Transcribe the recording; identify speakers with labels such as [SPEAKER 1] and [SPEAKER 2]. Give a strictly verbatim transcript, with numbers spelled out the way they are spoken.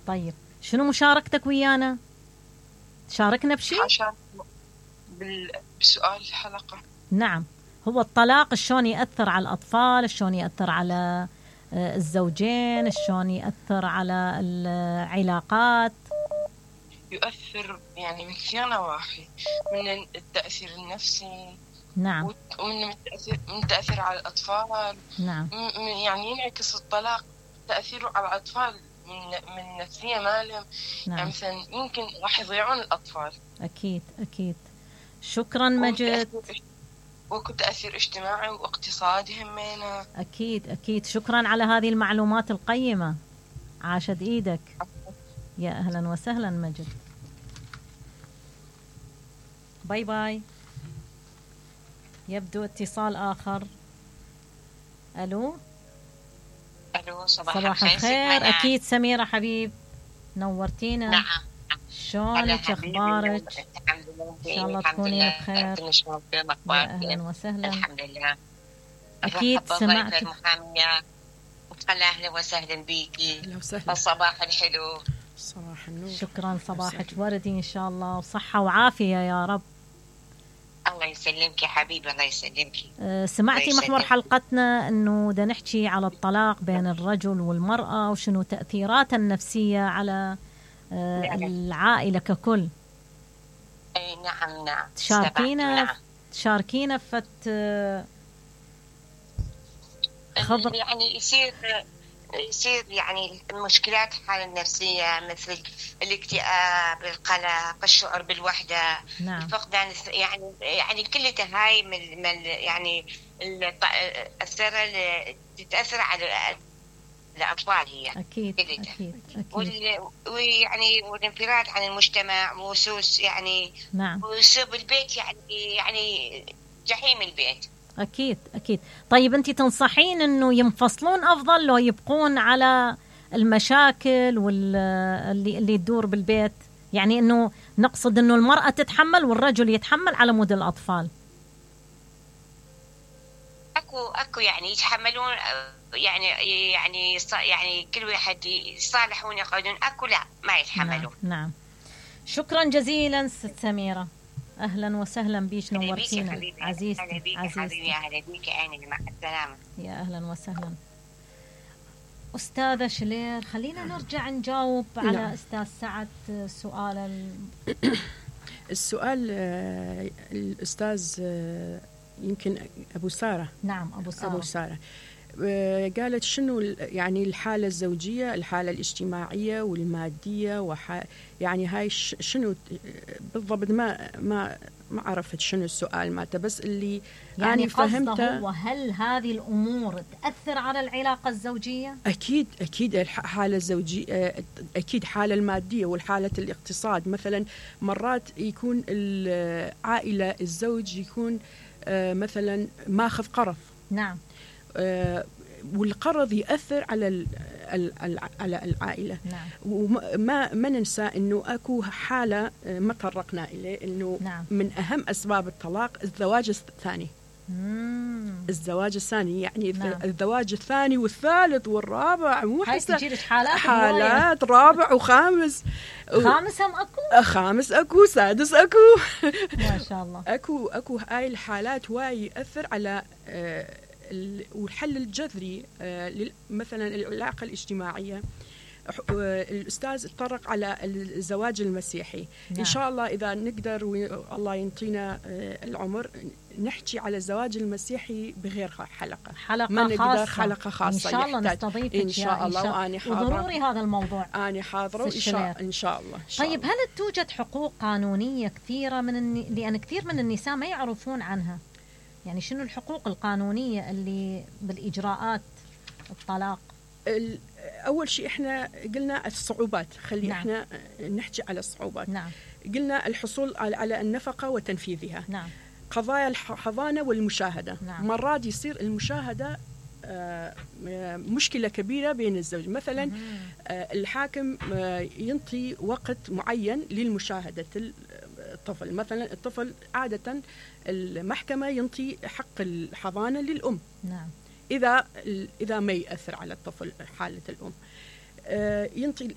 [SPEAKER 1] طيب شنو مشاركتك ويانا؟ تشاركنا بشيء؟
[SPEAKER 2] عشان بسؤال الحلقة.
[SPEAKER 1] نعم، هو الطلاق شلون يأثر على الأطفال، شلون يأثر على الزوجين، شلون يأثر على العلاقات؟
[SPEAKER 2] يؤثر يعني من كثير نواحي، من التأثير النفسي.
[SPEAKER 1] نعم.
[SPEAKER 2] ومن التأثير من التأثير على الأطفال.
[SPEAKER 1] نعم.
[SPEAKER 2] يعني ينعكس الطلاق تأثيره على الأطفال من من نفسية مالهم.
[SPEAKER 1] نعم.
[SPEAKER 2] يعني مثلا يمكن راح يضيعون الأطفال.
[SPEAKER 1] أكيد أكيد. شكرا مجد.
[SPEAKER 2] وتأثير اجتماعي واقتصادي همينة.
[SPEAKER 1] أكيد أكيد. شكرا على هذه المعلومات القيمة، عاشت إيدك. يا أهلا وسهلا مجد. باي باي. يبدو اتصال آخر. ألو.
[SPEAKER 2] ألو. صباح,
[SPEAKER 1] صباح
[SPEAKER 2] الخير.
[SPEAKER 1] الخير. أكيد سميرة حبيب، نورتينا.
[SPEAKER 2] نعم.
[SPEAKER 1] شلونك؟ أخبارك؟ إن شاء الله تكونين بخير. يا أهلا وسهلا.
[SPEAKER 2] الحمد لله.
[SPEAKER 1] أكيد سمعت
[SPEAKER 2] المحامية. أهلا وسهلا بيكي.
[SPEAKER 3] أهلا وسهلا.
[SPEAKER 2] الصباح الحلو.
[SPEAKER 3] صباح النور.
[SPEAKER 1] شكرا، صباحك وردي إن شاء الله، وصحة وعافية يا رب.
[SPEAKER 2] الله يسلمك يا حبيبي، الله يسلمك.
[SPEAKER 1] أه سمعتي محور حلقتنا أنه دا نحكي على الطلاق بين الرجل والمرأة وشنو تأثيراته النفسية على أه نعم. العائلة ككل.
[SPEAKER 2] أي نعم نعم.
[SPEAKER 1] تشاركينا نعم. تشاركينا فت
[SPEAKER 2] خبر يعني يصير يصير يعني المشكلات الحالة النفسية مثل الاكتئاب، القلق، الشعور بالوحدة.
[SPEAKER 1] نعم.
[SPEAKER 2] فقدان يعني يعني كلها هاي من يعني الأثر تتأثر على الأطفال هي.
[SPEAKER 1] أكيد أكيد
[SPEAKER 2] أكيد. ويعني والانفراد عن المجتمع وسوس يعني.
[SPEAKER 1] نعم.
[SPEAKER 2] وسوء البيت يعني يعني جحيم البيت.
[SPEAKER 1] أكيد أكيد. طيب أنت تنصحين أنه ينفصلون أفضل لو يبقون على المشاكل واللي اللي تدور بالبيت؟ يعني أنه نقصد أنه المرأة تتحمل والرجل يتحمل على مود الأطفال.
[SPEAKER 2] أكو أكو يعني يتحملون يعني يعني يعني كل واحد يصالحون يقعدون، أكو لا ما يتحملون.
[SPEAKER 1] نعم, نعم. شكرا جزيلا ست سميرة، أهلا وسهلا بيش، نورتينا عزيزتي.
[SPEAKER 2] أهلا بيك حبيبي. أهلا بيك أهلا مع السلامة.
[SPEAKER 1] يا أهلا وسهلا. أستاذة شلير، خلينا نرجع نجاوب على نعم. أستاذ سعد سؤال ال...
[SPEAKER 3] السؤال الأستاذ يمكن أبو سارة.
[SPEAKER 1] نعم أبو سارة.
[SPEAKER 3] أبو سارة قالت شنو يعني الحالة الزوجية، الحالة الاجتماعية والمادية، وح يعني هاي شنو بالضبط؟ ما ما ما عرفت شنو السؤال مالته، بس اللي
[SPEAKER 1] يعني
[SPEAKER 3] أنا فهمته
[SPEAKER 1] هو هل هذه الأمور تأثر على العلاقة الزوجية؟
[SPEAKER 3] أكيد أكيد. الحالة الزوجية أكيد، حالة المادية والحالة الاقتصاد. مثلا مرات يكون العائلة الزوج يكون مثلا ماخذ قرض.
[SPEAKER 1] نعم.
[SPEAKER 3] والقرض يأثر على على العائلة.
[SPEAKER 1] نعم.
[SPEAKER 3] وما ما ننسى إنه أكو حالة ما طرقنا إليه، إنه
[SPEAKER 1] نعم.
[SPEAKER 3] من أهم أسباب الطلاق الزواج الثاني.
[SPEAKER 1] مم.
[SPEAKER 3] الزواج الثاني يعني
[SPEAKER 1] نعم.
[SPEAKER 3] الزواج الثاني والثالث والرابع، مو
[SPEAKER 1] حتى حالات
[SPEAKER 3] حالات رابع وخامس.
[SPEAKER 1] خامس هم أكو؟
[SPEAKER 3] خامس أكو، سادس أكو.
[SPEAKER 1] ما شاء الله.
[SPEAKER 3] أكو أكو هاي الحالات واي يأثر على آه والحل الجذري مثلا العلاقة الاجتماعية. الأستاذ تطرق على الزواج المسيحي. نعم. إن شاء الله إذا نقدر والله ينطينا العمر نحكي على الزواج المسيحي بغير حلقة
[SPEAKER 1] حلقة
[SPEAKER 3] ما نقدر
[SPEAKER 1] خاصة.
[SPEAKER 3] حلقة خاصة
[SPEAKER 1] إن شاء الله نستضيفك
[SPEAKER 3] إن شاء الله. وأنا حاضرة،
[SPEAKER 1] وضروري هذا الموضوع
[SPEAKER 3] أنا حاضرة إن شاء إن شاء الله.
[SPEAKER 1] طيب هل توجد حقوق قانونية كثيرة من الن... لأن كثير من النساء ما يعرفون عنها؟ يعني شنو الحقوق القانونية اللي بالإجراءات الطلاق؟
[SPEAKER 3] أول شيء إحنا قلنا الصعوبات، خلي
[SPEAKER 1] نعم.
[SPEAKER 3] إحنا نحكي على الصعوبات.
[SPEAKER 1] نعم.
[SPEAKER 3] قلنا الحصول على النفقة وتنفيذها.
[SPEAKER 1] نعم.
[SPEAKER 3] قضايا الحضانة والمشاهدة.
[SPEAKER 1] نعم.
[SPEAKER 3] مرات يصير المشاهدة مشكلة كبيرة بين الزوج. مثلا الحاكم ينطي وقت معين للمشاهدة الطفل. مثلا الطفل عادة المحكمة ينطي حق الحضانة للأم.
[SPEAKER 1] نعم.
[SPEAKER 3] إذا إذا ما يأثر على الطفل حالة الأم، ينطي